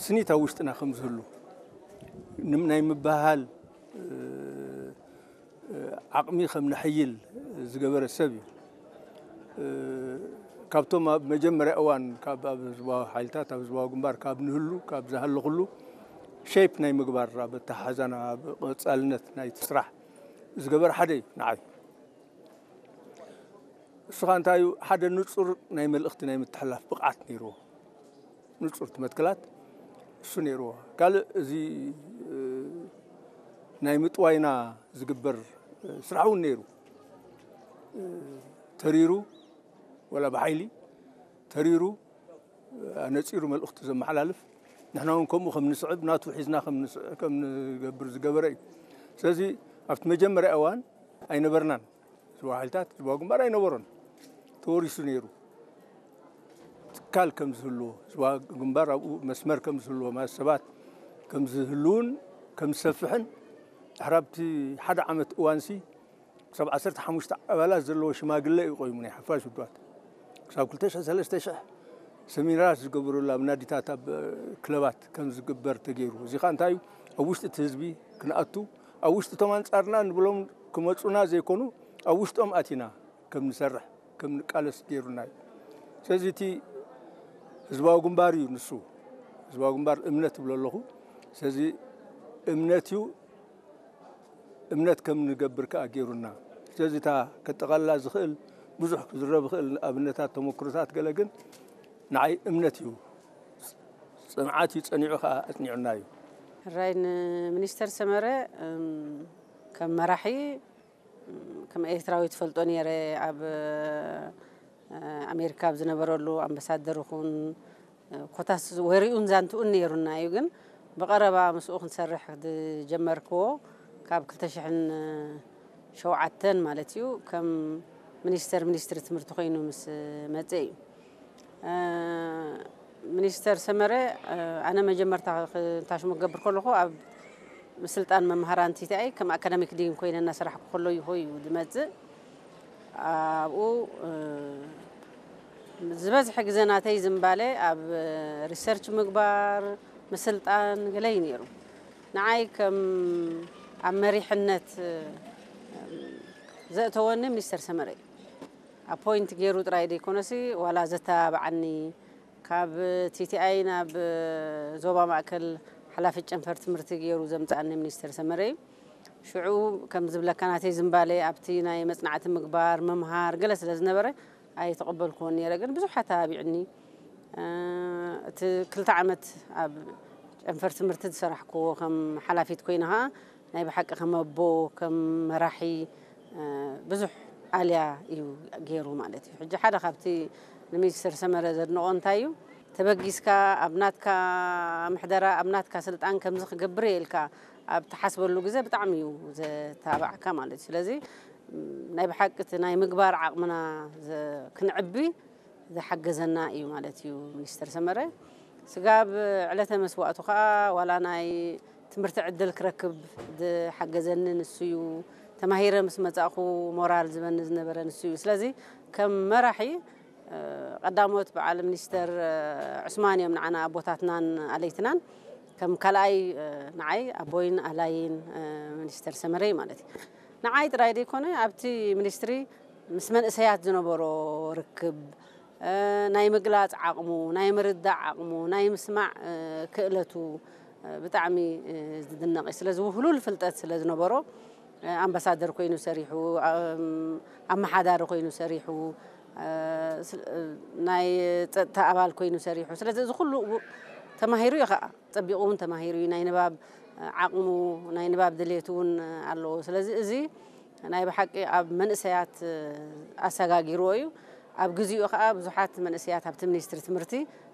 ስኒት ኣብ ውሽጥና ከም ዝህሉ ናይ ምባሃል ዓቕሚ ከም ነሐይል ዝገበረ ሰብ እዩ። ካብቶም ኣብ መጀመርያ እዋን ካብ ኣብ ህዝባዊ ሓይልታት ኣብ ህዝባዊ ግንባር ካብ ንህሉ ካብ ዝሃለኹሉ ሸይፕ ናይ ምግባር ኣብ ኣተሓሕዛና ኣብ ቀፃልነት ናይቲ ስራሕ ዝገበረ ሓደ እዩ ንዓይ። እሱ ከዓ እንታይ እዩ? ሓደ ንፁር ናይ መልእኽቲ ናይ ምትሕላፍ ብቕዓት ነይርዎ። ንፁር ትመትክላት እሱ ነይርዎ። ካልእ እዚ ናይ ምጥዋይና ዝግበር ስራሕ እውን ነይሩ። ተሪሩ ወላ ብሓይሊ ተሪሩ ኣነፂሩ መልእኽቱ ዘመሓላልፍ ንሕና እውን ከምኡ ከም ንስዕብ ናቱ ሒዝና ከም ንገብር ዝገበረ እዩ። ስለዚ ኣብቲ መጀመርያ እዋን ኣይነበርናን። ዝዋ ሓይልታት ዝዋ ግንባር ኣይነበሮን። ተወሪሱ ነይሩ። ትካል ከም ዝህልዎ ዝዋ ግንባር ኣብኡ መስመር ከም ዝህልዎ ማለት ሰባት ከም ዝህልውን ከም ዝሰፍሕን ድሕራብቲ ሓደ ዓመት እዋንሲ ክሳብ ዓሰርተ ሓሙሽተ ኣባላት ዘለዎ ሽማግለ እዩ ቆይሙ ናይ ሓፋሽ ውድባት ክሳብ ክልተ ሽሕ ሰለስተ ሽሕ ሰሚናራት ዝገብሩሉ ኣብ ናዲታት ኣብ ክለባት ከም ዝግበር ተገይሩ። እዚ ከዓ እንታይ እዩ? ኣብ ውሽጢ እቲ ህዝቢ ክንኣቱ ኣብ ውሽጢ እቶም ኣንጻርና ንብሎም ክመጹና ዘይኮኑ ኣብ ውሽጦም ኣቲና ከም ንሰርሕ ከም ንቃለስ ገይሩና እዩ። ስለዚ እቲ ህዝባዊ ግንባር እዩ ንሱ ህዝባዊ ግንባር እምነት እብሎ ኣለኹ። ስለዚ እምነት እዩ እምነት ከም ንገብር ከኣ ገይሩና። ስለዚ እታ ከጠቓልላ ዝኽእል ብዙሕ ክዝረብ ይኽእል ኣብነታት ተመክሮታት ገለ ግን ንዓይ እምነት እዩ። ጽንዓት እዩ ጸኒዑ ከኣ ኣጽኒዑና እዩ። ሕራይ ንሚኒስተር ሰመረ ከም መራሒ ከም ኤርትራዊ ትፈልጦ ነይረ ኣብ ኣሜሪካ ኣብ ዝነበረሉ ኣምባሳደር ይኹን ኮታስ ወሬኡን ዛንትኡን ነይሩና እዩ ግን ብቐረባ ምስኡ ክንሰርሕ ዝጀመርክዎ ካብ ክልተ ሽሕን ሸውዓተን ማለት እዩ ከም ሚኒስተር ሚኒስትሪ ትምህርቲ ኮይኑ ምስ መፀ እዩ። ሚኒስተር ሰመረ ኣነ መጀመርታ ታሽሙ ክገብር ከለኹ ኣብ ምስልጣን መምሃራን ቲቲኣይ ከም ኣካዳሚክ ዲን ኮይነ እናሰራሕኩ ከሎ ይኾ እዩ ዝመፅእ ኣብኡ ዝበዝሐ ግዜ ናተይ ዝምባለ ኣብ ሪሰርች ምግባር ምስልጣን ገለ እዩ ነይሩ ንዓይ ከም ኣብ መሪሕነት ዘእተወኒ ሚኒስተር ሰመረ እዩ ኣፖይንት ገይሩ ጥራይ ዘይኮነሲ ዋላ ዘተባብዓኒ ካብ ቲቲኣይ ናብ ዞባ ማእከል ሓላፊ ጨንፈር ትምህርቲ ገይሩ ዘምፅኣኒ ሚኒስተር ሰመረ እዩ ሽዑ ከም ዝብለካ ናተይ ዝምባለ ኣብቲ ናይ መፅናዕቲ ምግባር ምምሃር ገለ ስለ ዝነበረ ኣይተቐበልኩዎን ነይረ ግን ብዙሕ ኣተባቢዕኒ እቲ ክልተ ዓመት ኣብ ጨንፈር ትምህርቲ ዝሰራሕክዎ ከም ሓላፊት ኮይነ ከዓ ናይ ብሓቂ ከም ኣቦ ከም መራሒ ብዙሕ ኣልያ እዩ ገይሩ ማለት እዩ ሕጂ ሓደ ካብቲ ንሚኒስትር ሰመረ ዘድንቆ እንታይ እዩ ተበጊስካ ኣብ ናትካ ምሕደራ ኣብ ናትካ ስልጣን ከምዚ ክገብር እየ ኢልካ ኣብ ትሓስበሉ ግዜ ብጣዕሚ እዩ ዘተባብዓካ ማለት እዩ ስለዚ ናይ ብሓቂ እቲ ናይ ምግባር ዓቕምና ክንዕቢ ዝሓገዘና እዩ ማለት እዩ ሚኒስተር ሰመረ። ስጋብ ዕለተ መስዋእቱ ከዓ ዋላ ናይ ትምህርቲ ዕድል ክረክብ ዝሓገዘኒ ንሱ እዩ። ተማሂረ ምስ መጻእኹ ሞራል ዝበኒ ዝነበረ ንሱ እዩ። ስለዚ ከም መራሒ ቀዳሞት በዓል ሚኒስተር ዑስማን እዮም ንዓና ኣቦታትናን ኣለይትናን ከም ካልኣይ ንዓይ ኣቦይን ኣላይን ሚኒስተር ሰመረይ ማለት እዩ። ንዓይ ጥራይ ዘይኮነ ኣብቲ ሚኒስትሪ ምስ መንእሰያት ዝነበሮ ርክብ፣ ናይ ምግላፅ ዓቕሙ፣ ናይ ምርዳእ ዓቕሙ፣ ናይ ምስማዕ ክእለቱ ብጣዕሚ ዝድነቕ እዩ። ስለዚ ውህሉል ፍልጠት ስለ ዝነበሮ ኣምባሳደር ኮይኑ ሰሪሑ፣ ኣመሓዳሪ ኮይኑ ሰሪሑ፣ ናይ ፀጥታ ኣባል ኮይኑ ሰሪሑ። ስለዚ እዚ ኩሉ ተማሂሩ እዩ ከዓ። ፀቢቑ እውን ተማሂሩ እዩ ናይ ንባብ ዓቕሙ ናይ ንባብ ድሌቱ እውን ኣለዎ ስለዚ እዚ ናይ ብሓቂ ኣብ መንእሰያት ኣሰጋጊርዎ እዩ ኣብ ግዚኡ ከዓ ብዙሓት መንእሰያት ኣብቲ ሚኒስትሪ ትምህርቲ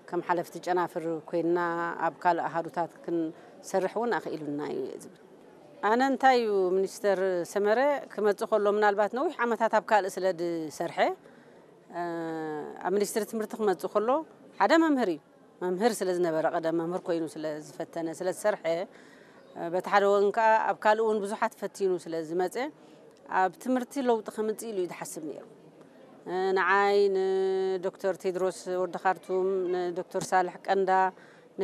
ከም ሓለፍቲ ጨናፍር ኮይንና ኣብ ካልእ ኣሃዱታት ክንሰርሕ እውን ኣኽኢሉና እዩ ዝብል ኣነ እንታይ እዩ ሚኒስተር ሰመረ ክመፅእ ከሎ ምናልባት ነዊሕ ዓመታት ኣብ ካልእ ስለ ዝሰርሐ ኣብ ሚኒስትሪ ትምህርቲ ክመፅእ ከሎ ሓደ መምህር እዩ መምህር ስለ ዝነበረ ቀደም መምህር ኮይኑ ስለ ዝፈተነ ስለ ዝሰርሐ በቲ ሓደ ወገን ከዓ ኣብ ካልእ እውን ብዙሓት ፈቲኑ ስለ ዝመፀ ኣብ ትምህርቲ ለውጢ ከምፅእ ኢሉ እዩ ዝሓስብ ነይሩ ንዓይ ንዶክተር ቴድሮስ ወዲ ካርቱም ንዶክተር ሳልሕ ቀንዳ